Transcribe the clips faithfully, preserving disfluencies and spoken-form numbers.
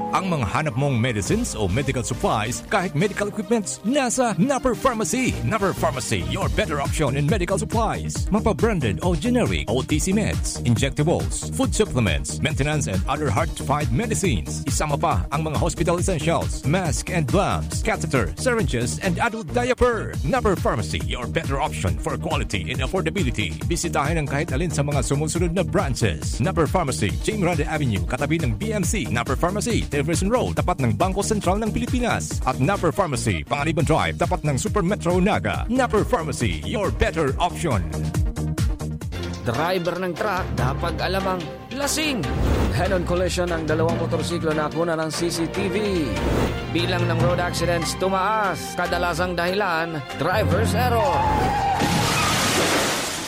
Ang mga hanap mong medicines o medical supplies, kahit medical equipments, nasa Napper Pharmacy. Napper Pharmacy, your better option in medical supplies. Mapa-branded o generic, O T C meds, injectables, food supplements, maintenance and other hard-to-find medicines. Isama pa ang mga hospital essentials, mask and gloves, catheter, syringes, and adult diaper. Napper Pharmacy, your better option for quality and affordability. Bisitahin ang kahit alin sa mga sumusunod na branches. Napper Pharmacy, Jim Rade Avenue, katabi ng B M C. Napper Pharmacy, Television Road, tapat ng Bangko Sentral ng Pilipinas. At Napper Pharmacy, Panganiban Drive, tapat ng Super Metro Naga. Napper Pharmacy, your better option. Driver ng truck, dapat alamang lasing. Head-on collision ng dalawang motorsiklo na kuna ng C C T V. Bilang ng road accidents tumaas. Kadalasang dahilan, driver's error.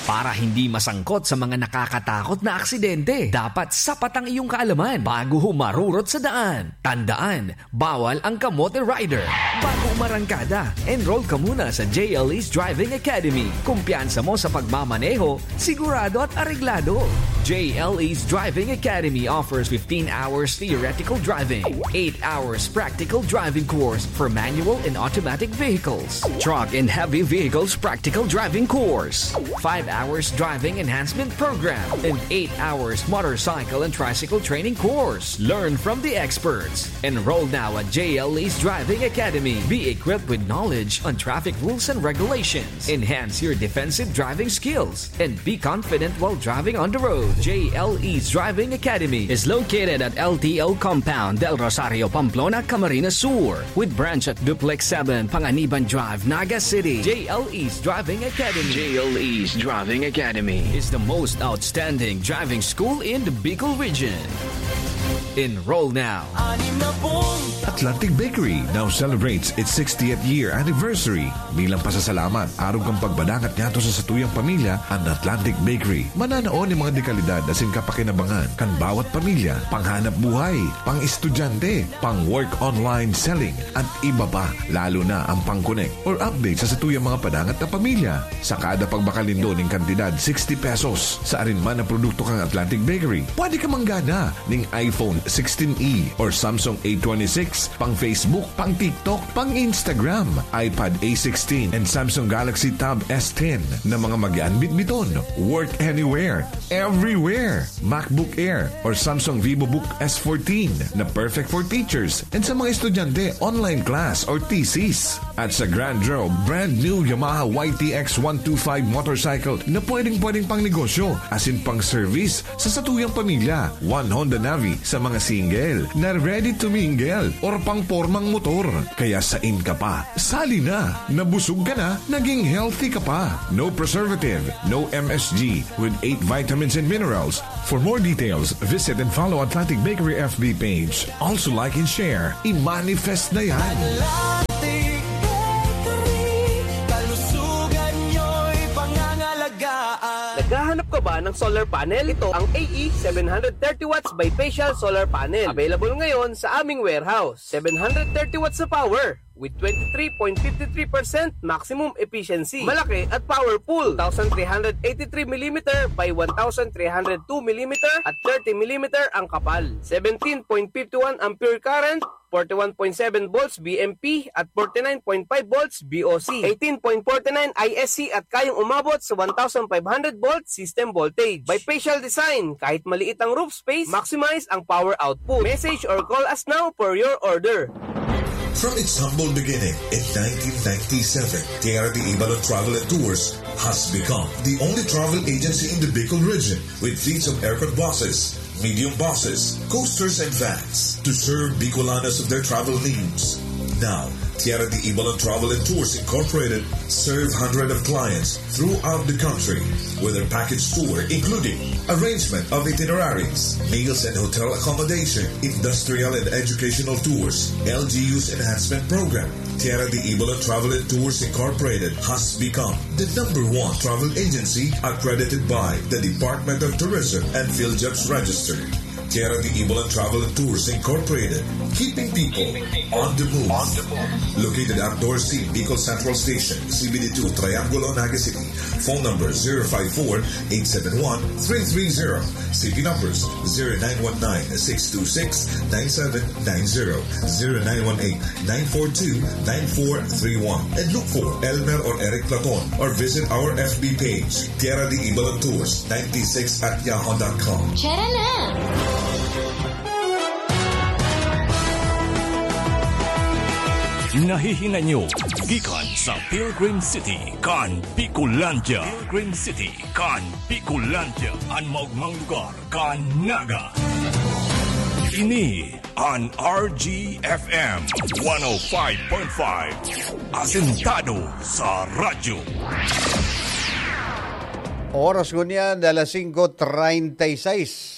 Para hindi masangkot sa mga nakakatakot na aksidente, dapat sapat ang iyong kaalaman bago humarurot sa daan. Tandaan, bawal ang kamote rider. Bago umarangkada, enroll ka muna sa J L E's Driving Academy. Kumpiyansa mo sa pagmamaneho, sigurado at areglado. J L E's Driving Academy offers fifteen hours theoretical driving, eight hours practical driving course for manual and automatic vehicles, truck and heavy vehicles practical driving course, five hours driving enhancement program, and eight hours motorcycle and tricycle training course. Learn from the experts. Enroll now at J L E's Driving Academy. Be equipped with knowledge on traffic rules and regulations. Enhance your defensive driving skills and be confident while driving on the road. J L E's Driving Academy is located at L T O Compound, Del Rosario, Pamplona, Camarines Sur, with branch at Duplex seven, Panganiban Drive, Naga City. J L E's Driving Academy. J L E's Driving Academy is the most outstanding driving school in the Bicol region. Enroll now. Atlantic Bakery now celebrates its sixtieth year anniversary. Bilang pasasalamat, arog kan pagpadangat ngadto sa satuyang pamilya, an Atlantic Bakery mananao nin mga dekalidad asin kapakinabangan kan bawat pamilya, panghanap buhay, pang-estudyante, pang-work online selling, at iba pa, lalo na ang pang-connect or update sa satuyang mga padangat na pamilya. Sa kada pagbakal nindo nin kantidad sixty pesos sa arin man na produkto kan Atlantic Bakery, pwede ka manggana ning iPhone sixteen E or Samsung A twenty-six, pang Facebook, pang TikTok, pang Instagram, iPad A sixteen, and Samsung Galaxy Tab S ten na mga magian bitbiton. Work anywhere, everywhere. MacBook Air or Samsung VivoBook S fourteen na perfect for teachers and sa mga estudyante, online class or thesis. At sa Grand Draw, brand new Yamaha Y T X one two five motorcycle na pwedeng-pwedeng pang negosyo asin pang service sa satuyang pamilya. One Honda Navi sa mga single na ready to mingle or pang pormang motor. Kaya sain ka pa? Sali na! Nabusog ka na, naging healthy ka pa. No preservative, no M S G, with eight vitamins and minerals. For more details, visit and follow Atlantic Bakery F B page. Also like and share. I-manifest na yan! Atlantic Bakery, kalusugan nyo'y pangangalagaan. Naghahanap ka ba ng solar panel? Ito ang A E seven hundred thirty watts bifacial solar panel. Available ngayon sa aming warehouse. Seven hundred thirty watts na power with twenty-three point five three percent maximum efficiency. Malaki at powerful. Two thousand three hundred eighty-three millimeter by one thousand three hundred two millimeter at thirty millimeter ang kapal. Seventeen point five one ampere current, forty-one point seven volts B M P at forty-nine point five volts B O C. Eighteen point forty-nine I S C at kayang umabot sa one thousand five hundred volt system voltage. Bifacial design, kahit maliit ang roof space, maximize ang power output. Message or call us now for your order. From its humble beginning in nineteen ninety-seven, Tierra de Ibalon Travel and Tours has become the only travel agency in the Bicol region with fleets of aircon buses, medium buses, coasters, and vans to serve Bicolanos of their travel needs. Now, Tierra de Ibalon Travel and Tours Incorporated serve hundreds of clients throughout the country with their package tour, including arrangement of itineraries, meals and hotel accommodation, industrial and educational tours, L G U's enhancement program. Tierra de Ibalon Travel and Tours Incorporated has become the number one travel agency accredited by the Department of Tourism and PhilJobs Register. Tierra de Ibalan Travel and Tours Incorporated, keeping people on the move. Located at Dorsey, Bicol Central Station, C B D two, Triangulo, Naga City. Phone number zero five four, eight seven one, three three zero. C P numbers zero nine one nine, six two six, nine seven nine zero, zero nine one eight, nine four two, nine four three one. And look for Elmer or Eric Platon or visit our F B page, Tierra de Ibalan Tours ninety-six at yahoo dot com. Tara na! Nahihinay nyo gikan sa Pilgrim City kan Bicolandia. Pilgrim City kan Bicolandia, an maogmang lugar kan Naga. Ini an R G F M one oh five point five, asentado sa radyo. Oras ngunyan, alas singko treinta y seis.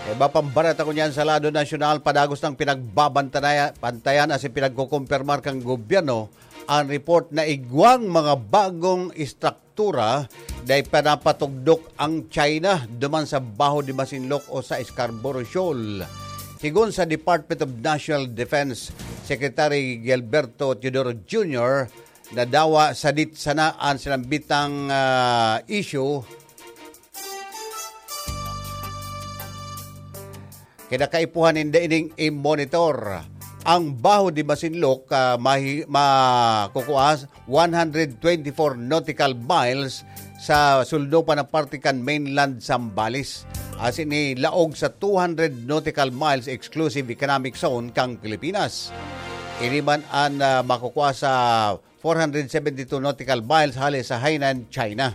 Iba pang bareta ngunyan sa lado nasyonal, padagos nang pinagbabantayan, pantayan asin pinagkukumpirmar kan gobyerno an report na igwang mga bagong estruktura dai pa napatugdok ang China duman sa Baho de Masinloc o sa Scarborough Shoal. Sigon sa Department of National Defense Secretary Gilberto Teodoro Junior, nadawa sadit sana an sinambitang, ah, issue. Kinakaipuhan ninda ining i-monitor. Ang Baho de Masinloc, ah, mahi-, makukua one hundred twenty-four nautical miles sa sulnopan na parte kan mainland Zambales. Asin ni laog sa two hundred nautical miles exclusive economic zone kan Pilipinas. Ini man an, ah, makukua sa four hundred seventy-two nautical miles hale sa Hainan, China.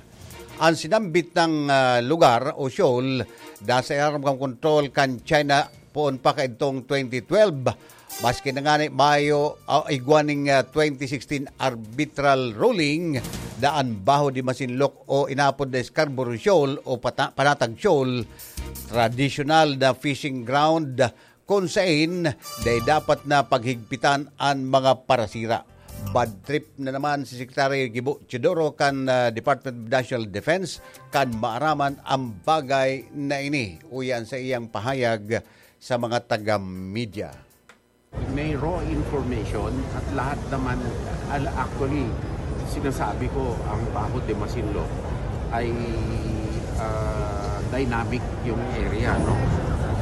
An sinambit na, ah, lugar o shoal, nasa ilarom kan kontrol kan China poon pa kaidtong twenty twelve. Maski na ngani mayo, ah, igwa ning, ah, twenty sixteen arbitral ruling, na an Baho de Masinloc o inapod na Scarborough Shoal o pata-, Panatag Shoal, tradisyonal na fishing ground, kun sain dai dapat na paghigpitan an mga parasira. Bad trip na naman si Secretary Gibo Teodoro kan, ah, Department of National Defense kan maaraman ang bagay na ini. Uya an saiyang pahayag sa mga taga-media. May raw information at lahat naman, al-, actually, sinasabi ko, ang Baho de Masinloc ay, ah, dynamic yung area, no?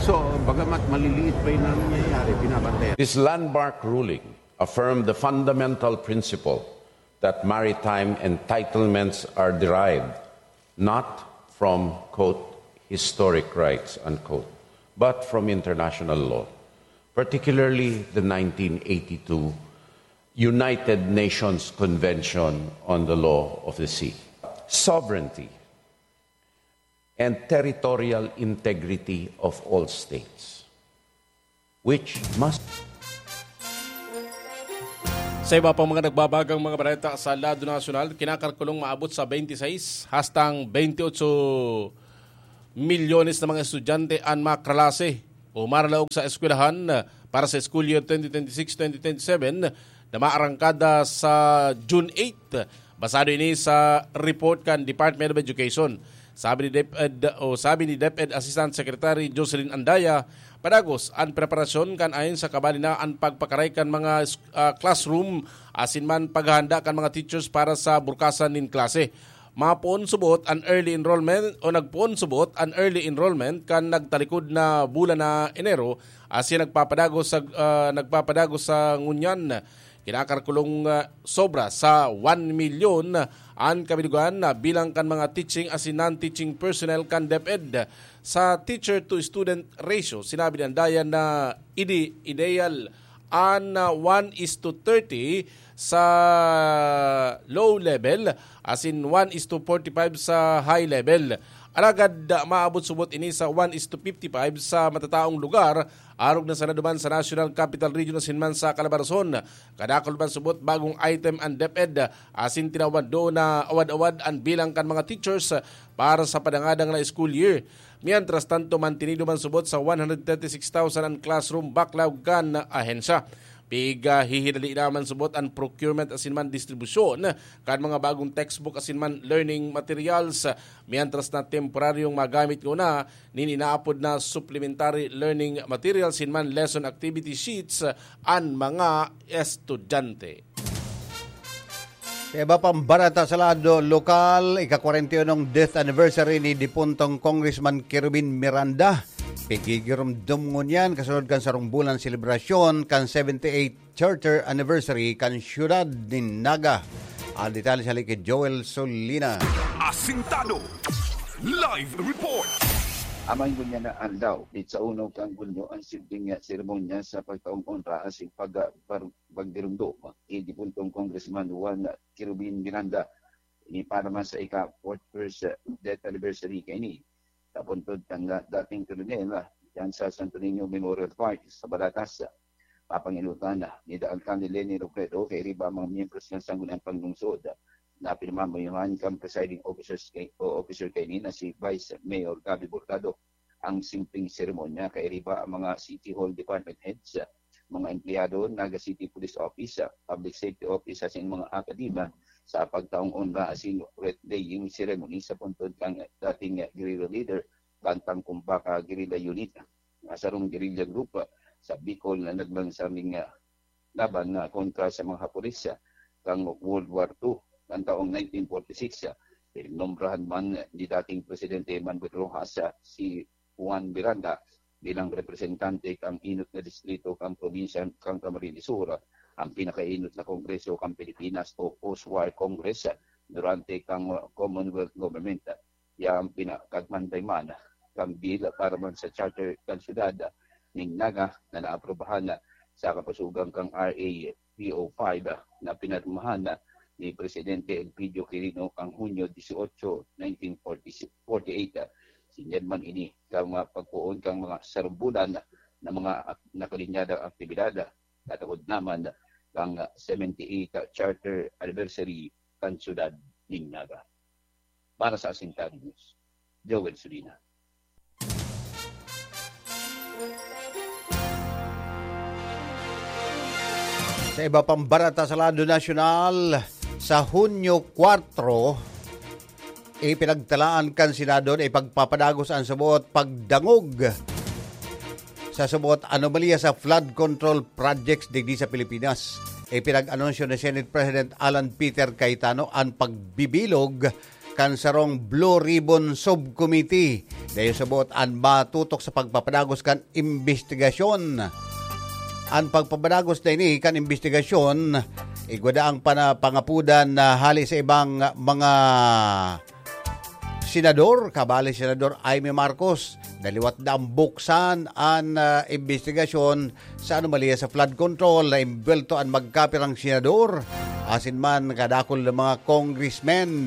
So, bagamat maliliit pa yung nangyayari, binabantayan. This landmark ruling affirmed the fundamental principle that maritime entitlements are derived not from, quote, historic rights, unquote, but from international law, particularly the nineteen eighty-two United Nations Convention on the Law of the Sea. Sovereignty and territorial integrity of all states, which must Sa iba pang mga nagbabagang mga bareta sa lado nasyonal, kinakalkulong maabot sa twenty-six hastang twenty-eight milyones na mga estudyante an makralase o maralaog sa eskwelahan para sa school year twenty twenty-six twenty twenty-seven na maarangkada sa June eight. Basado ini sa report kan Department of Education. Sabi ni DepEd, o sabi ni DepEd Assistant Secretary Jocelyn Andaya, padagos an preparasyon kan ayon sa kabali na an pagpakaray kan mga, ah, classroom asin man paghahanda kan mga teachers para sa burkasan nin klase. Mapoon subot an early enrollment o nagpoon subot an early enrollment kan nagtalikod na bulan na Enero asin nagpapadagos sa, ah, nagpapadagos sa ngunyan. Kinakalkulong, ah, sobra sa one milyon an kabilugan na bilang kan mga teaching asin non-teaching personnel kan DepEd. Sa teacher-to-student ratio, sinabi ni Andaya na idi ideal an, ah, one is to thirty sa low level asin one is to forty-five sa high level. Alagad, ah, maabot subot ini sa one is to fifty-five sa matataong lugar, arog na sana duman sa National Capital Region asin man sa Calabarzon. Kadakul man subot bagong item an DepEd, asin tinawan doon na awad-awad an bilang kan mga teachers para sa padangadang na school year. Mientras tanto, mantinido man subot sa one hundred thirty-six thousand an classroom backlog kan ahensya. Pig, ah, hihinali naman subot an procurement asin man distribusyon kan mga bagong textbook asin man learning materials, mientras na temporaryong magamit nguna nin inaapod na supplementary learning materials asin man lesson activity sheets an mga estudyante. Sa iba pang barata sa lado lokal, ika-kwarenta y unong death anniversary ni dipuntong Congressman Kerubin Miranda. Pigigiromdom ngunyan kasunod kan sarong bulan selebrasyon kan seventy-eighth charter anniversary kan siyudad nin Naga. Ang detalye sa hali ki Joel Solina. Asintado. Live report. Amay ngunyan na aldaw, di sa uno kan Hunyo ang simpleng seremonya sa pagtaong onra asin pag-, pag-, pagdirumdom ni dipuntong Congressman Juan Kerubin Miranda, ini para man sa ika-forty-first death anniversary kaini. Sa puntod kan dating koronel, ah, diyan sa Santo Niño Memorial Park sa Baratas, papanginutan na ni Alcalde Leni Robredo kay riba ang mga miyembros kan Sangguniang Panglungsod na pinamamayohan kan presiding officers kay, o officer kaini na si Vice Mayor Gabby Bordado. Ang simpleng seremonya kay riba ang mga City Hall Department Heads, mga empleyado, Naga City Police Office, Public Safety Office asin mga akadema sa pagtaong onra asin wreath-laying ceremony sa puntod kan dating guerrilla leader kan Tangkumbaka Guerrilla Unit, nga sarong guerrilla group sa Bicol na naglansar ning, ah, laban na kontra sa mga Hapones, ah, kan World War two, kan taong nineteen forty-six, ah. Pinumbrahan man ni dating Presidente Manuel Roxas, ah, si Juan Miranda bilang representante kan inot na distrito kan probinsya kan Camarines Sur, ang pinakainot na kongreso kan Pilipinas o post-war Congress, ah, durante kan Commonwealth Government. Yan pinakagmantay man kan bill para man sa charter kan siyudad ning Naga na naaprubahan sa kapusugan kan R A three oh five na pinirmahan ni Presidente Elpidio Quirino kan Hunyo dieciocho, nineteen forty-eight. Sinyad man ini kan mga pagpoon kan mga sarong bulan na mga ak-, nakalinyadang aktibidad, katakod naman kan seventy-eighth charter anniversary kan siyudad ning Naga. Para sa Asintado News, Joel Sulina. Sa iba pang barata sa lado nasyonal, sa Hunyo kwatro, ipinagtalaan kan Senado na ipagpapadagos ang saboot pagdangog sa saboot anomalya sa flood control projects digdi sa Pilipinas. Ipinag-anunsyo ni Senate President Alan Peter Cayetano an pagbibilog kan sarong Blue Ribbon Subcommittee. Dayo saboot an matutok sa pagpapadagos kan imbestigasyon. An pagpapadagos na ini kan imbestigasyon, igwa daang pana-, pangapudan na hali sa ibang mga senador, kabali Senador Imee Marcos, na liwat na ang buksan an, ah, imbestigasyon sa anomalya sa flood control na imbwelto an magkapirang senador, asin man kadakul na mga congressmen.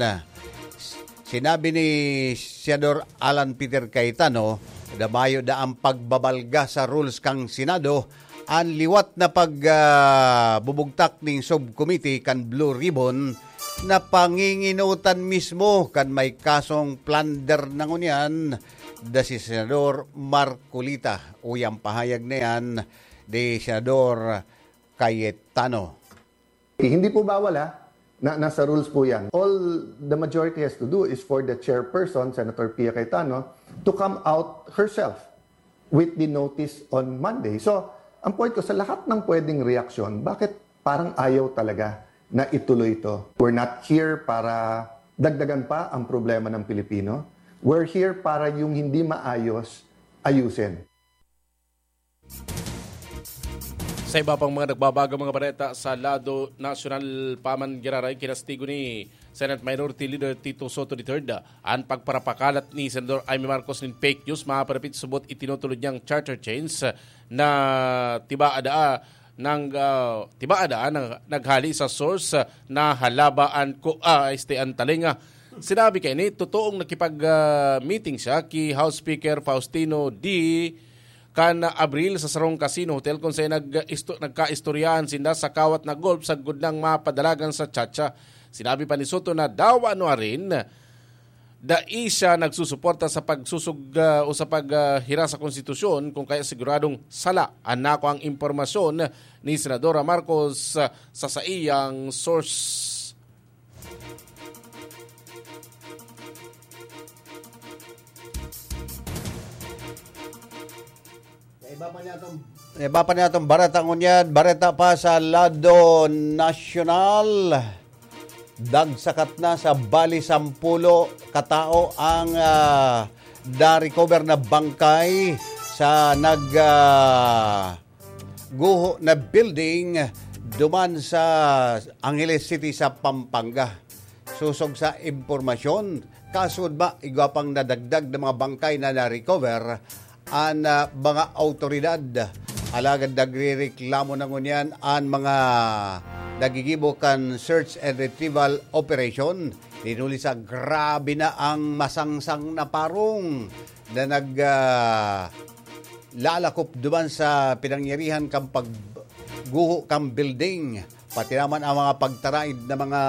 Sinabi ni Senador Alan Peter Cayetano na mayo na ang pagbabalga sa rules kan Senado, an liwat na pag, ah, bubugtak ning subcommittee kan Blue Ribbon na panginginotan mismo kan may kasong plunder na ngunyan da si Senador Marcoleta. Uyang pahayag na yan ni Senador Cayetano. Hindi po bawal, ha, na nasa rules po yan. All the majority has to do is for the chairperson, Senator Pia Cayetano, to come out herself with the notice on Monday. So, ang point ko, sa lahat ng pwedeng reaksyon, bakit parang ayaw talaga na ituloy ito? We're not here para dagdagan pa ang problema ng Pilipino. We're here para yung hindi maayos, ayusin. Sa iba pang mga nagbabagang mga bareta sa lado nasyonal, pa man giraray, kinastigo ni Senate Minority Leader Tito Sotto the third an pagparapakalat ni Senador Imee Marcos nin fake news maparapit subot itinutulod niyang charter change na tiba ada nang, ah, tiba ada nang naghali sa source, ah, na halaba an ko, ah, este an talinga. Sinabi kaini, totoong nakipag, ah, meeting siya ki House Speaker Faustino D kan Abril sa sarong casino hotel kung saan nag-isto-, nagkaistoryahan sinda sa kawat na golf sagkod nang mapadalagan sa chacha. Sinabi pa ni Sotto na dawa nuarin, dai siya nagsusuporta sa pagsusog, ah, o sa pag, ah, hira sa konstitusyon, kung kaya siguradong sala an nakuang impormasyon ni Senadora Marcos, ah, sa saiyang source. Sa iba pa niya itong, sa iba pa niya itong bareta ngunyan, bareta pa sa lado nasyonal. Dagsakat na sa bali sampulo katao ang, ah, na-recover na bangkay sa nag, ah, guho na building duman sa Angeles City sa Pampanga. Sosog sa impormasyon, kasod ba igwa pang nadagdag na mga bangkay na na-recover an, ah, mga awtoridad. Alagad nagrereklamo na ngunyan an mga nagigibo kan search and retrieval operation. Dinuli sa grabe na ang masangsang na parong na nag, ah, lalakop duman sa pinangyarihan kan pagguho kan building. Pati naman ang mga pagtaraid na mga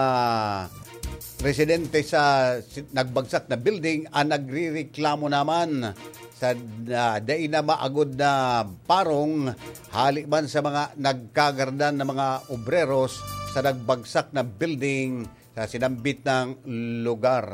residente sa si-, nagbagsak na building ang nagrereklamo naman sa, ah, dai na maagod na parong hali man sa mga nagkagardan na mga obreros sa nagbagsak na building sa sinambit na lugar.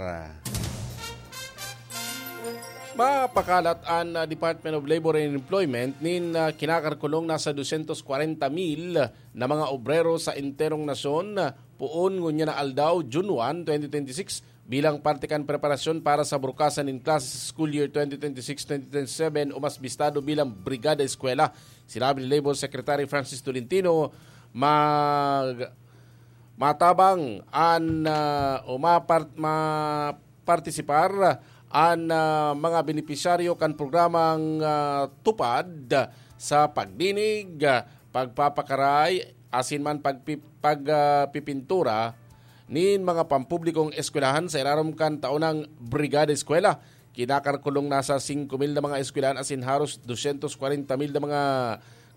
Mapakalat an, ah, Department of Labor and Employment nin, ah, kinakalkulong nasa dosyentos kwarenta mil na mga obrero sa enterong nasyon, ah, poon ngunyan na aldaw, June one, twenty twenty-six, bilang parte kan preparasyon para sa burukasan nin klase sa school year twenty twenty-six twenty twenty-seven o mas bistado bilang Brigada Eskwela. Sinabi ni Labor Secretary Francis Tolentino, mag-, matabang an, ah, o mapart-, ma-, partisipar an, ah, mga benepisyaryo kan programang, ah, TUPAD sa pagdinig, ah, pagpapakaray, asin man pagpi-, pag, ah, pipintura nin mga pampublikong eskwelahan sa ilarom kan taonang Brigada Eskwela. Kinakalkulong nasa singko mil na mga eskwelahan asin haros dosyentos kwarenta mil na mga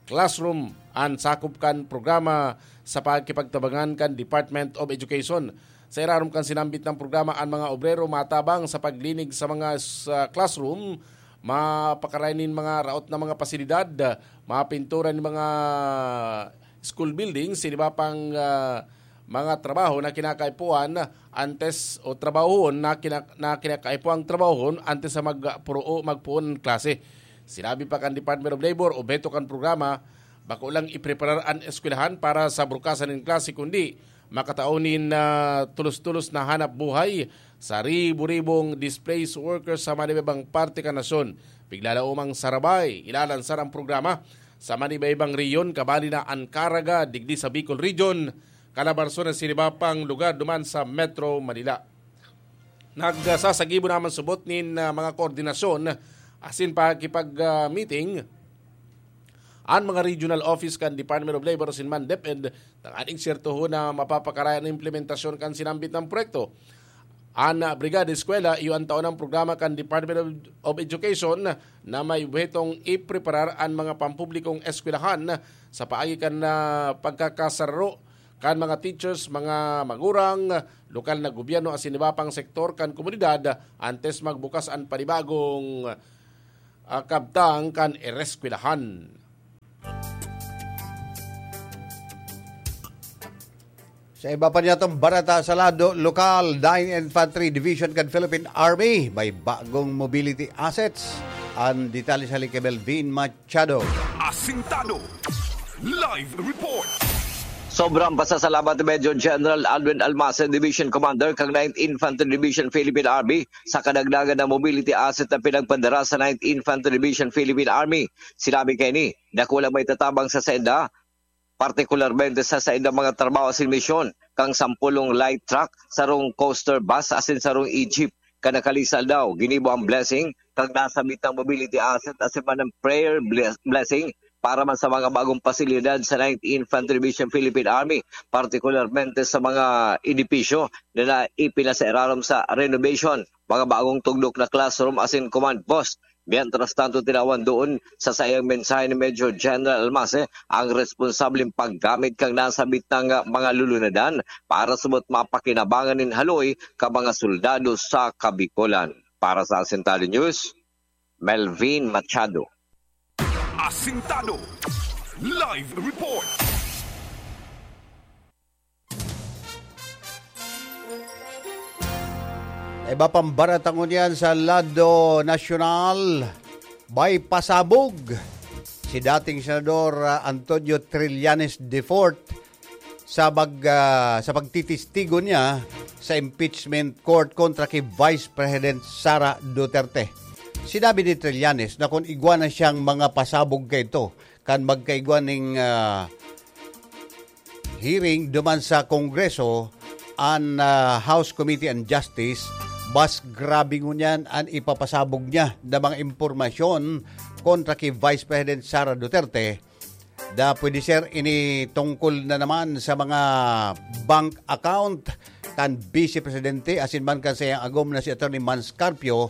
classroom an sakop kan programa sa pakikipagtabangan kan Department of Education. Sa irarom kan sinambit na programa, an mga obrero matabang sa paglinig sa mga s-, classroom, mapakaray nin mga raot na mga pasilidad, mapintura nin mga school buildings, siniba pang, ah, mga trabaho na kinakaipuhan antes o trabahoon na kina-, na kinakaipuhang trabahoon antes sa magpuro-, magpoon ng klase. Sinabi pa kan Department of Labor, obheto kan programa, bako lang ipreparar an eskwelahan para sa burukasan nin klase, kundi makatao nin, ah, tulos-tulos na hanap buhay sa ribo-ribong displaced workers sa manibaybang parte kan nasyon. Piglalaomang sarabay, ilalansar ang programa sa manibaybang rehiyon, kabali na an Caraga, digdi sa Bicol Region, Calabarzon asin iba pang lugar duman sa Metro Manila. Nagsasagibo naman subot nin, ah, mga koordinasyon asin pakikipag, ah, meeting an mga regional office kan Department of Labor asin man DepEd tanganing sertohon na mapapakaray an implementasyon kan sinambit na proyekto. An, ah, Brigada Eskwela, iyo an taonang programa kan Department of, of Education na may obhetong ipreparar an mga pampublikong eskwelahan sa paagi kan, ah, pagkakasararo kan mga teachers, mga magurang, lokal na gobyerno asin iba pang sektor kan komunidad antes magbukas an panibagong, ah, kabtang kan ereskwelahan. Sa iba pa niyatong bareta sa lado lokal, Ninth Infantry Division kan Philippine Army may bagong mobility assets. Ang detalye sa Lique Melvin Machado. Asintado. Live report. Sobrang pasasalamat ni Major General Alwin Almacen, Division Commander kan Ninth Infantry Division Philippine Army, sa kadagdagan na mobility asset na pinagpadara sa Ninth Infantry Division Philippine Army. Sinabi kaini, dakulang maitatabang sa sainda, partikularmente sa saindang mga trabaho asin misyon, kan sampolong light truck, sarong coaster bus asin sarong e-jeep. Kan nakalisa aldaw, ginibo ang blessing kan nasambit na mobility asset asin man ang prayer bles-, blessing para man sa mga bagong pasilidad sa Ninth Infantry Division Philippine Army, partikularmente sa mga edipisyo na, na ipinasairarom sa renovation, mga bagong tugdok na classroom asin command post. Mientras tanto, tinawan doon sa saiyang mensahe ni Major General Almase ang responsableng paggamit kan nasabit na mga lulunadan para sabot mapakinabangan nin haloy kan mga soldado sa Kabikolan. Para sa Asintado News, Melvin Machado. Asintado Live Report. Iba pang baratangon yan sa lado nasyonal, may pasabog si dating Senador, ah, Antonio Trillanes the fourth sa pag-, ah, sa pagtitistigo niya sa impeachment court kontra ki Vice President Sara Duterte. Sinabi ni Trillanes na kung igwa na siyang mga pasabog kaito, kan magkaigwa ning, ah, hearing duman sa Kongreso, an, ah, House Committee on Justice, mas grabe ngunyan an ipapasabog niya na mga impormasyon kontra ki Vice President Sara Duterte, na pwede ser ini tungkol na naman sa mga bank account kan Vice Presidente asin man kan saiyang agom na si Attorney Mans Carpio,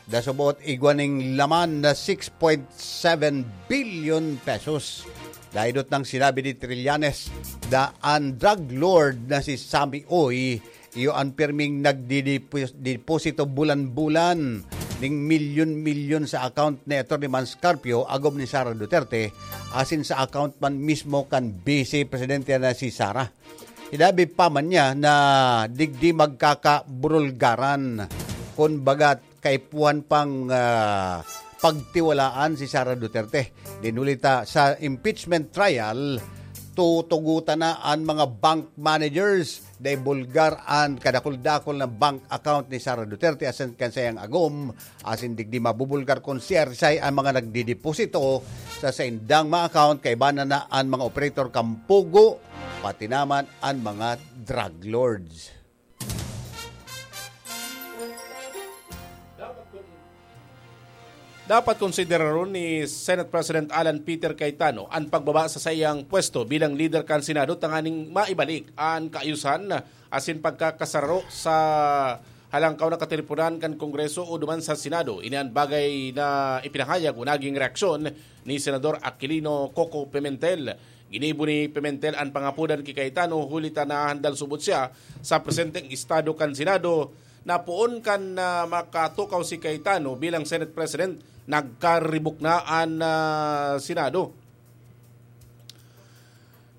na subot igwa ning laman na six point seven billion pesos. Dahil nang sinabi ni Trillanes na an drug lord na si Sammy Uy, iyo an pirming nagdidipos-, deposito bulan-bulan ning milyon-milyon sa account ni Attorney Mans Carpio, agom ni Sara Duterte, asin sa account man mismo kan Vice Presidente na si Sara. Sinabi pa man niya na digdi magkakaburulgaran, kun baga kaipuhan pang, ah, pagtiwalaan si Sara Duterte. Dinulita sa impeachment trial, tutugutan na an mga bank managers na ibulgar an kadakul-dakul na bank account ni Sara Duterte asin kan saiyang agom, asin digdi mabubulgar kun siyarsay an mga nagdideposito sa saindang mga account, kaiba na na an mga operator kan Pogo, pati naman an mga drug lords. Dapat konsideraron ni Senate President Alan Peter Cayetano an pagbaba sa saiyang pwesto bilang lider kan Senado tanganing maibalik an kaayusan asin pagkakasaro sa halangkaw na katiriponan kan Kongreso o duman sa Senado. Ini an bagay na ipinahayag o naging reaksyon ni Senador Aquilino Coco Pimentel. Ginibo ni Pimentel an pangapodan ki Cayetano huli ta nahandal subot siya sa presenteng estado kan Senado. Na poon kan, ah, makatukaw si Cayetano bilang Senate President, nagkaribok na an, ah, Senado.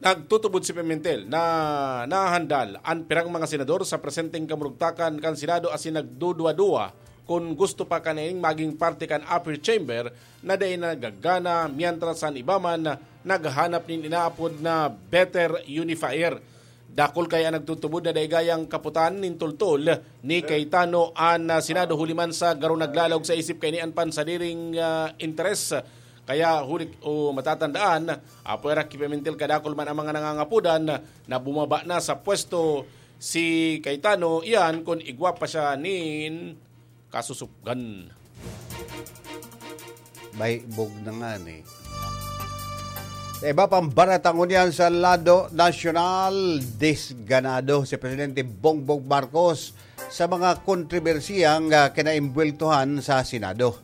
Nagtutubod si Pimentel na nahandal an pirang mga senador sa presenteng kamurugtakan kan Senado asin nagduduwa-duwa kun gusto pa kanining maging parte kan upper chamber na dai nagagana, mientras an iba man naghahanap nin inaapod na better unifier. Dakul kaya an nagtutubod na dai gayang kaputan nin tultol ni Cayetano an, ah, Senado huli man sa garo naglalaog sa isip kaini an pansadiring, ah, interes. Kaya huli o matatandaan, apwera ki Pimentel kadakul man ang mga nangangapodan na bumaba na sa pwesto si Cayetano, iyan kun igwa pa siya nin kasusupgan. May bog na nga ni. Sa iba pang baratangon yan sa lado nasyonal, disganado si Presidente Bongbong Marcos sa mga kontrobersiyang, ah, kinaimbweltohan sa Senado.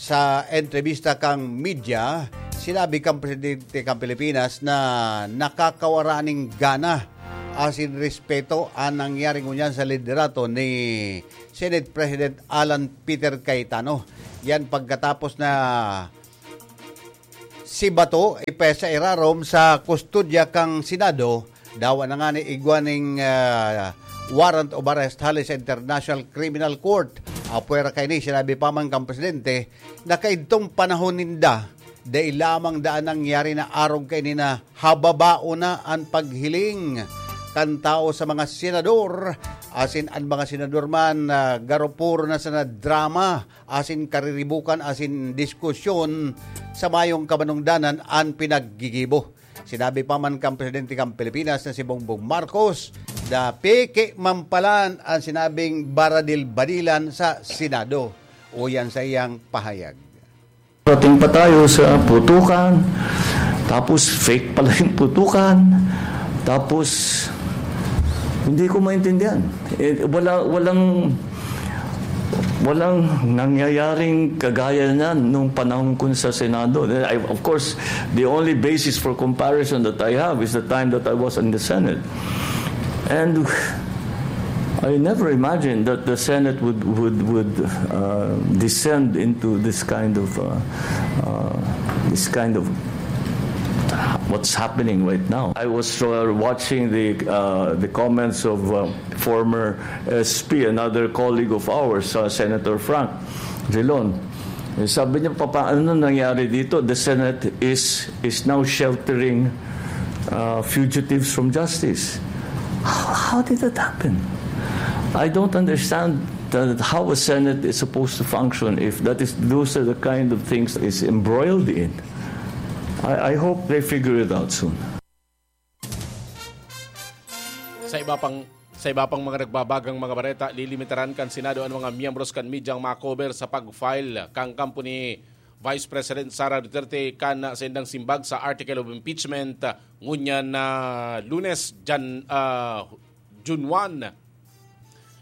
Sa entrebista kang media, sinabi kang presidente kang Pilipinas na nakakawara ning gana asin respeto an nangyari ngunyan sa liderato ni Senate President Alan Peter Cayetano. Yan pagkatapos na si Bato ipesa irarom sa kustodya kang Senado, dawa na nga ni igwa ning, ah, warrant of arrest hali sa International Criminal Court. Apwera kaini, sinabi pa man kan presidente na kaidtong panahon ninda, dai lamang daan nangyari na arog kaini na hababaon na an paghiling kan tawo sa mga senador, asin an mga senador man, ah, garo puro na sana drama, asin kariribukan, asin diskusyon sa mayong kabanongdanan an pinaggigibo. Sinabi pa man kan presidente kan Pilipinas na si Bongbong Marcos na peke man palan an sinabing baradil-badilan sa Senado. Uyan sa iyang pahayag. Parating pa tayo sa putukan, tapos fake pala yung putukan, tapos hindi ko maintindihan. Eh, wala, walang, walang nangyayaring kagaya niyan nung panahon ko sa Senado. I, of course, the only basis for comparison that I have is the time that I was in the Senate. And I never imagined that the Senate would would would uh, descend into this kind of uh, uh, this kind of what's happening right now. I was uh, watching the uh, the comments of uh, former S P, another colleague of ours, uh, Senator Frank Drilon. Eh, sabi niya, "Papa, ano nangyari dito? The Senate is is now sheltering uh, fugitives from justice." How, how did that happen? I don't understand that how a Senate is supposed to function if that is those are the kind of things is embroiled in. I, I hope they figure it out soon. Sa iba pang sa iba pang mga nagbabagang mga bareta, lilimitaran kan Senado an mga miyembros kan media ang makober sa pag-file kan kampo ni Vice President Sara Duterte kan saindang simbag sa article of impeachment ngunyan na Lunes, Jan, ah, June one.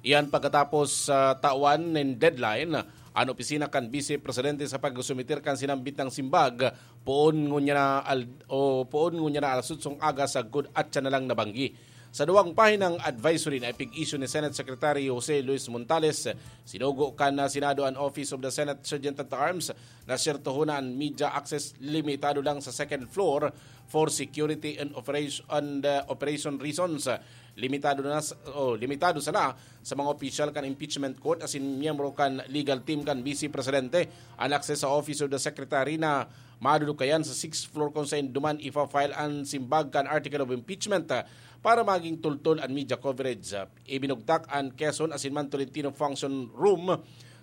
Iyan pagkatapos sa tawan nin deadline an opisina kan Vice Presidente sa pagsumiter kan sinambit na simbag poon ngunyan na al- o poon ngunyan na alas otsong aga sagkod atyan na lang nabanggi. Sa duwang pahinang advisory na ipig-issue ni Senate Secretary Jose Luis Montales, sinugo kan Senado an Office of the Senate Sergeant at Arms na siyertohon na an media access limitado lang sa second floor for security and operation and uh, operation reasons. Limitado na s- o limitado sana sa mga opisyal kan impeachment court asin miyembro kan legal team kan Vice Presidente an access sa Office of the Secretary na madudukayan sa sixth floor kung sain duman ifa-file an simbag kan article of impeachment, ah, para maging tultol an media coverage. Ah, ibinugtak an Quezon asin man Tolentino Function Room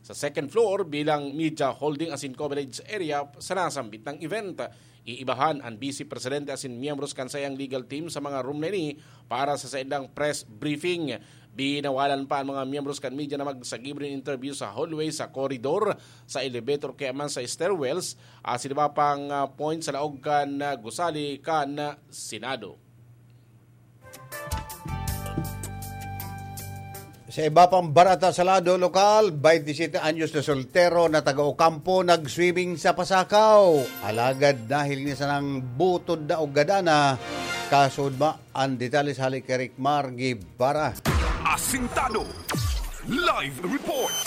sa second floor bilang media holding asin coverage area sa nasambit na event. Iibahan an Vice Presidente asin miyembros kan saiyang legal team sa mga room na ini para sa saindang press briefing. Binawalan pa ang mga miyembros kan media na magsagibo nin interview sa hallway, sa koridor, sa elevator kaya man sa stairwells, asin iba pang ah, point sa laog kan ah, gusali kan ah, Senado. Sa iba pang barata sa lado lokal, twenty-seven anyos na soltero na taga Ocampo nag-swimming sa Pasakaw. Alagad nahiling niya sanang butod na ugadana, kasudma. Ang detalye sa hali kay Rick Mar Guevara. Asintado. Live report.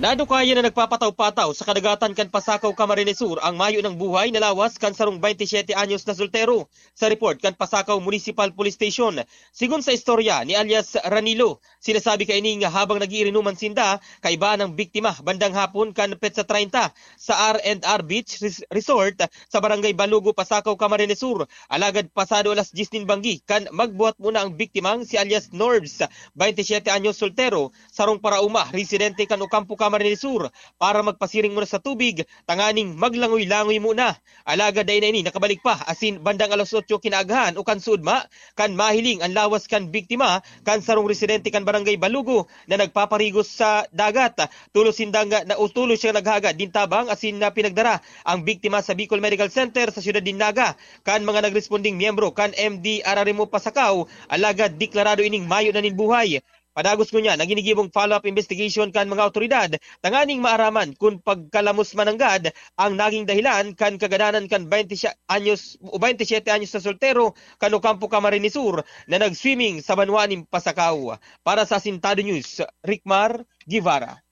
Nadukayan na nagpapataw-pataw sa kadagatan kan Pasakaw, Camarines Sur ang mayo ng buhay na lawas kan sarong twenty-seven anyos na soltero. Sa report kan Pasakaw Municipal Police Station, sigon sa istorya ni alias Ranilo, sinasabi kaini nga habang nag-iirinuman sinda, kaiba ng biktima bandang hapon kan petsa treinta sa R and R Beach Res- Resort sa Barangay Balugo, Pasakaw, Camarines Sur. Alagad pasado alas diyes nin banggi kan magbuhat muna ang biktimang si alias Norbs, twenty-seven anyos, soltero, sarong parauma, residente kan Ocampo, Camarines Sur, para magpasiring muna sa tubig tanganing maglangoy-langoy muna. Alagad dai na ini nakabalik pa asin bandang alas otso kinaagahan o kan suudma kan mahiling an lawas kan biktima kan sarong residente kan Barangay Balugo na nagpaparigos sa dagat. Tolos sindang na o tolos siyang naghagad nin tabang asin na pinagdara ang biktima sa Bicol Medical Center sa siyudad nin Naga kan mga nagresponding miyembro kan M D R R M O Pasakaw, alagad deklarado ining mayo na nin buhay. Padagos ngunyan ang ginigibong follow-up investigation kan mga awtoridad tanganing maaraman kun pagkalamos mananggad ang naging dahilan kan kagadanan kan twenty anyos o twenty-seven anyos na soltero kan Ocampo, Camarines Sur na nag-swimming sa banwa nin Pasakaw. Para sa Asintado News, Rickmar Guevara.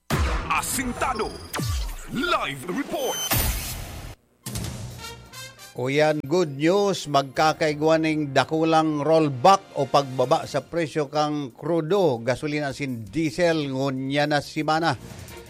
Asintado. Live report. Uyan, good news, magkakaigwa ning dakulang rollback o pagbaba sa presyo kan krudo, gasolina asin diesel ngunyan na semana.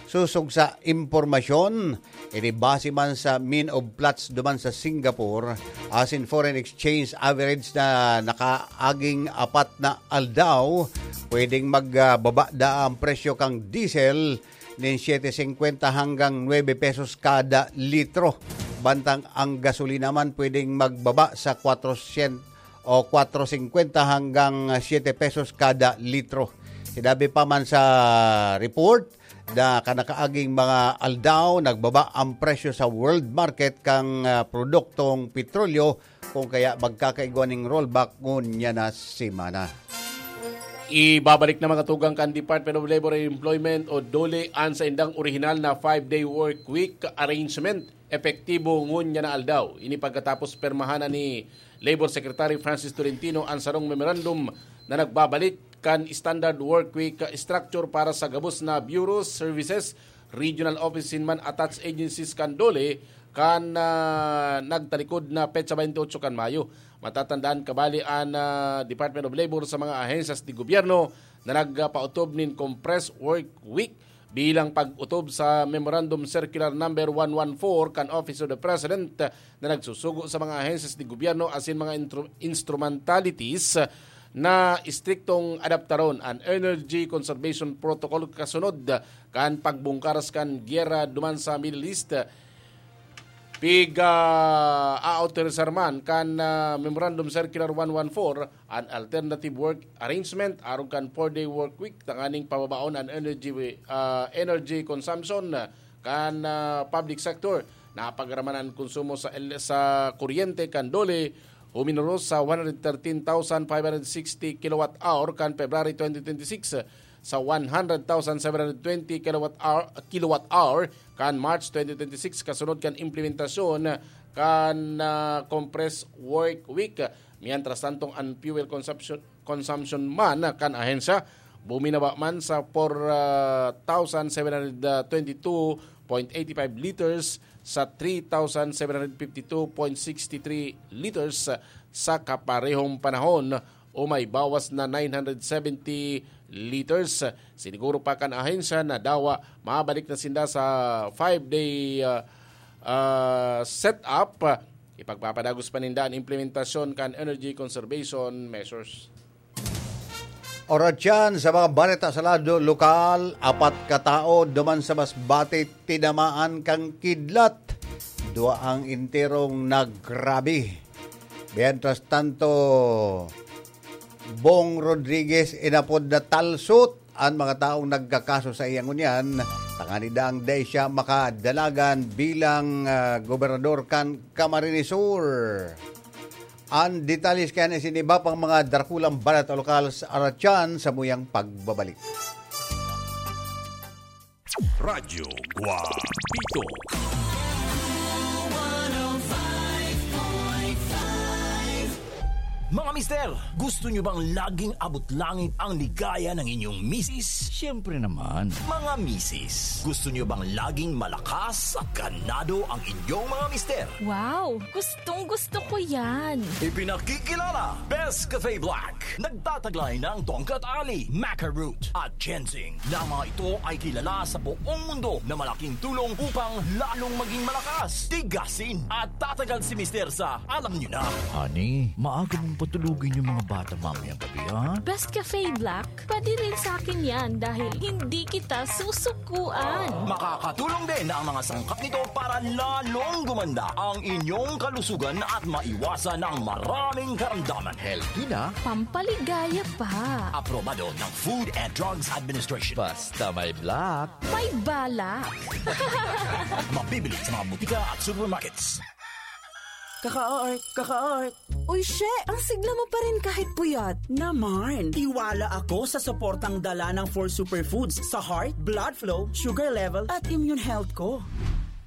Sosog sa impormasyon, ini base man sa mean of Platts duman sa Singapore, asin foreign exchange average na nakaaging apat na aldaw, pwedeng magbaba da ang presyo kan diesel nin siyete singkwenta hanggang nuebe pesos kada litro. Bantang ang gasolina man pwedeng magbaba sa kwatro syen- o kwatro singkwenta hanggang siyete pesos kada litro. Sinabi pa man sa report, Na kanakaaging mga aldaw, nagbaba ang presyo sa world market kan, ah, produktong petrolyo, kung kaya magkakaigwa ning rollback ngunyan na semana. Ibabalik na, mga tugang, kan Department of Labor and Employment o DOLE an saindang orihinal na five-day work week arrangement, epektibo ngunyan na aldaw. Ini pagkatapos permahan na ni Labor Secretary Francis Tolentino an sarong memorandum na nagbabalik kan standard work week structure para sa gabos na bureaus, services, regional offices man attached agencies kan DOLE kan, ah, nagtalikod na petsa twenty-eight kan Mayo. Matatandaan kabali an, ah, Department of Labor sa mga ahensyas de gobyerno na nagpautob nin compressed work week bilang pag-otob sa Memorandum Circular Number one one four kan Office of the President na nagsusugo sa mga ahensyas de gobyerno asin mga intru-, instrumentalities na istriktong adaptaron an Energy Conservation Protocol kasunod kan pagbungkaras kan giyera duman sa Middle East. Pig-aautorisar man kan, ah, Memorandum Circular one one four an alternative work arrangement arog kan four-day work week tanganing pababaon an energy, ah, energy consumption kan, ah, public sector. Napagaraman an konsumo sa el-, sa kuryente kan DOLE, huminoros sa one hundred thirteen thousand five hundred sixty kilowatt hour kan February twenty twenty-six sa one hundred thousand seven hundred twenty kilowatt hour, kilowatt hour kan March twenty twenty-six, kasunod kan implementasyon kan, ah, compressed work week. Mientras tanto, an fuel consumption, consumption man kan ahensya buminaba man sa four thousand seven hundred twenty-two point eight five liters sa three thousand seven hundred fifty-two point six three liters sa kaparehong panahon, o may bawas na nine hundred seventy liters. Siniguro pa kan ahensya na dawa mabalik na sinda sa five-day, ah, ah, setup. Ipagpapadagos pa ninda an implementasyon kan energy conservation measures. Oras yan sa mga balita sa lado lokal, apat katao duman sa Masbate tinamaan kan kidlat. Dua ang enterong nagrabi. Mientras tanto, Bong Rodriguez, inapod na Talsot, an mga taong nagkakaso sa iya ngunyan, tanganing dai siya makadalagan bilang, ah, gobernador kan Camarines Sur. An detalye kaya na isin iba pang mga dakulang balita lokal sa Aratian sa muyang pagbabalik. Radyo Guapito. Mga mister, gusto nyo bang laging abot langit ang ligaya ng inyong misis? Siyempre naman. Mga misis, gusto nyo bang laging malakas at ganado ang inyong mga mister? Wow! Gustong gusto ko yan! Ipinakikilala, Best Cafe Black. Nagtataglay ng tongkat ali, maca root, at ginseng, na mga ito ay kilala sa buong mundo na malaking tulong upang lalong maging malakas, tigasin, at tatagal si Mister sa alam nyo na. Honey, maaga mong patulugin yung mga bata mamayang gabi, ha? Best Cafe Black, pwede rin sa akin yan dahil hindi kita susukuan. Makakatulong din ang mga sangkap nito para lalong gumanda ang inyong kalusugan at maiwasan ang maraming karamdaman. Healthy na. Pampaligaya pa. Aprobado ng Food and Drugs Administration. Basta may black. May balak. Mabibili sa mga butika at supermarkets. Kaka-art, kaka-art. Uy, she! Ang sigla mo pa rin kahit puyat. Naman, tiwala ako sa suportang dala ng four superfoods sa heart, blood flow, sugar level, at immune health ko.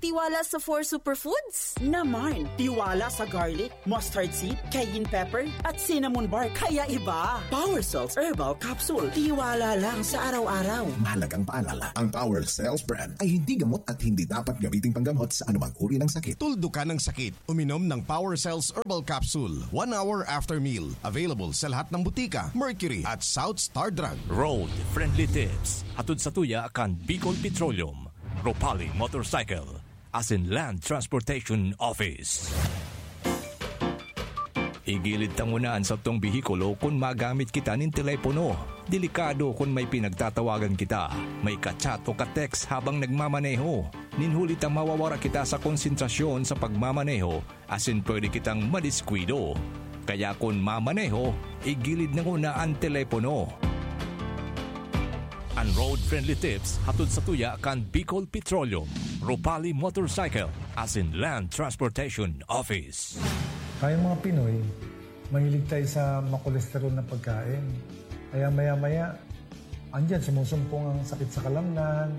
Tiwala sa four superfoods? Naman, tiwala sa garlic, mustard seed, cayenne pepper, at cinnamon bark. Kaya iba. Power Cells Herbal Capsule. Tiwala lang sa araw-araw. Mahalagang paalala, ang Power Cells brand ay hindi gamot at hindi dapat gamiting panggamot sa anumang uri ng sakit. Tuldukan ang sakit. Uminom ng Power Cells Herbal Capsule one hour after meal. Available sa lahat ng butika, Mercury at South Star Drug. Road Friendly Tips. Hatod sa tuya kan Bicol Petroleum, Ropali Motorcycle, asin Land Transportation Office. Igilid ta nguna an satong behikulo kun magamit kita nin telepono. Delikado kun may pinagtatawagan kita, may ka-chat o ka-text habang nagmamaneho. Nin huli ta mawawara kita sa konsentrasyon sa pagmamaneho asin pwede kitang madiskuido. Kaya kun mamaneho, igilid na nguna an telepono. An road-friendly tips hatod sa tuya kan Bicol Petroleum, Rupali Motorcycle, as in Land Transportation Office. Kayong mga Pinoy, mahilig tayo sa makolesterol na pagkain. Kaya maya-maya, andyan sumusumpong ang sakit sa kalamnan,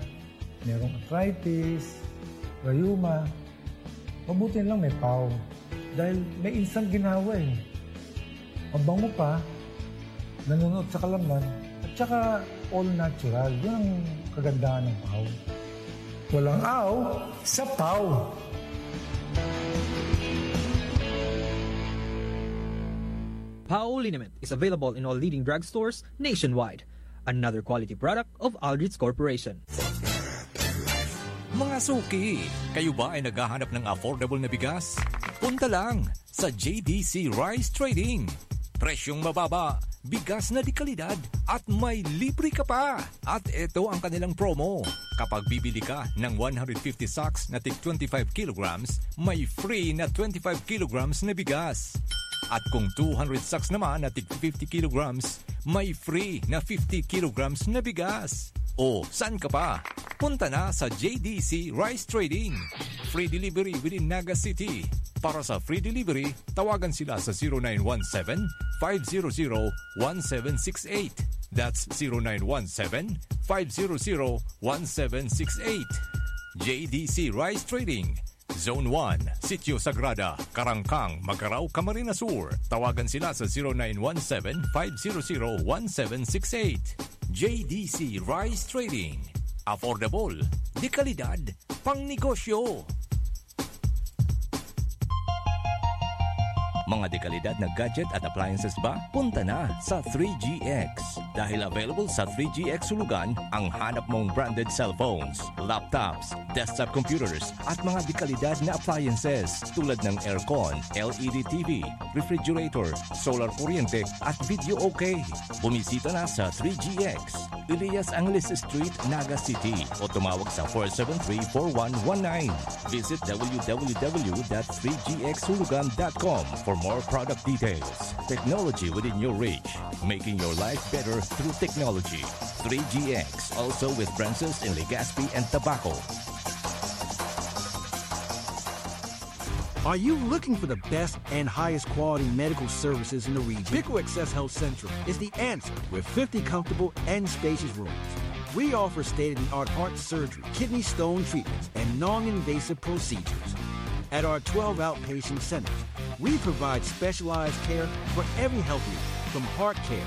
merong arthritis, rayuma. Mabuti lang may pau. Dahil may instant ginawa eh. Mabango pa, nanunuot sa kalamnan, at saka all natural. Yun ang kagandahan ng pau. Walang aw sa pau. Pau liniment is available in all leading drugstores nationwide. Another quality product of Aldrich Corporation. Mga suki, kayo ba ay naghahanap ng affordable na bigas? Punta lang sa J D C Rice Trading. Presyong mababa, bigas na de kalidad, at may libre ka pa. At ito ang kanilang promo. Kapag bibili ka ng one hundred fifty sacks na tig twenty-five kilograms, may free na twenty-five kilograms na bigas. At kung two hundred sacks naman na tig fifty kilograms, may free na fifty kilograms na bigas. O, saan ka pa? Punta na sa J D C Rice Trading. Free delivery within Naga City. Para sa free delivery, tawagan sila sa zero nine one seven, five zero zero, one seven six eight. That's zero nine one seven, five zero zero, one seven six eight. J D C Rice Trading, Zone one, Sitio Sagrada, Karangkang, Magarao, Camarines Sur. Tawagan sila sa zero nine one seven, five zero zero, one seven six eight. J D C Rice Trading. Affordable, de kalidad, pangnegosyo. Mga dekalidad na gadget at appliances ba? Punta na sa three G X. Dahil available sa three G X Hulugan ang hanap mong branded cellphones, laptops, desktop computers, at mga dekalidad na appliances tulad ng aircon, L E D T V, refrigerator, solar kuryente, at video okay. Bumisita na sa three G X, Elias Angeles Street, Naga City, o tumawag sa four seven three, four one one nine. Visit w w w dot three g x hulugan dot com for more product details. Technology within your reach, making your life better through technology. Three G X, also with branches in Legazpi and Tabaco. Are you looking for the best and highest quality medical services in the region? Pico Access Health Central is the answer with fifty comfortable and spacious rooms. We offer state of the art heart surgery, kidney stone treatments, and non invasive procedures. At our twelve outpatient centers, we provide specialized care for every health need, from heart care,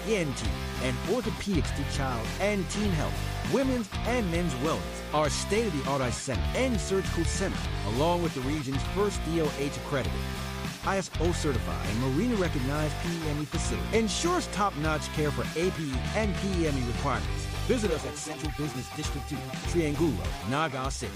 E N T, and orthopedics to child and teen health, women's and men's wellness. Our state of the art eye center and surgical center, along with the region's first D O H accredited, I S O certified, and Marina recognized P E M E facility, ensures top notch care for A P E and P E M E requirements. Visit us at Central Business District two, Triangulo, Naga City.